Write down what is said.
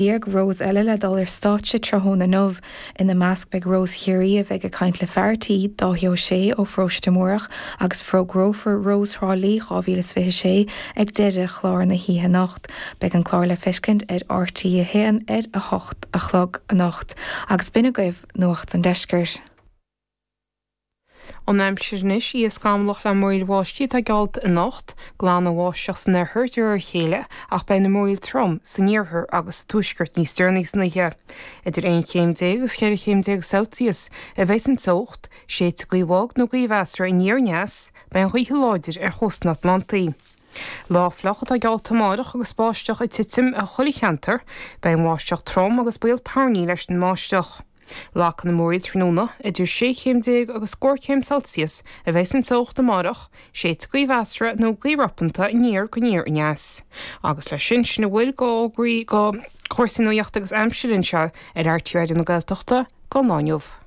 Rós eile le dul ar stáitse tráthnóna inniu. Ina measc beidh Rós Chiarraí a bheidh ag caint le fear tí, Dáithí Ó Sé ó Pharóiste Múrach agus fógrófar Rós Thrá Lí 2026 ag deireadh chlár na hoíche anocht. Beidh an clár le feiscint ar RTÉ 1 ar 8 a chlog anocht. Agus b'in agaibh Nuacht an Deiscirt. An aimsir anois, oíche scamallach le múraíl bháistí atá geallta anocht, glanfaidh an bháisteach san oirthear de réir a chéile ach beidh na múraíl trom san iarthar agus sa tuaisceart níos deireanaí san oíche. Idir 11 chéim agus 14 chéim Celsius a bheidh an teocht, séidfidh gaoth bhog nó gaoth mheasartha aniar aneas, beidh an ghaoth láidir ar chósta an Atlantaigh. Lá fliuch atá geallta amárach agus báisteach ag titim i chuile cheantar, beidh an bháisteach trom agus baol toirní leis an mbáisteach. Lagfaidh na múraíl tráthnóna, idir 16 chéim agus scór céim Celsius a bheidh an teocht amárach, séidfidh gaoth mheasartha nó gaoth ropanta aniar go aniar aneas. Agus leis sin, sin a bhfuil de fhógraí de chúrsaí nuachta agus aimsire anseo ar RTÉ Raidió na Gaeltachta don lá inniu.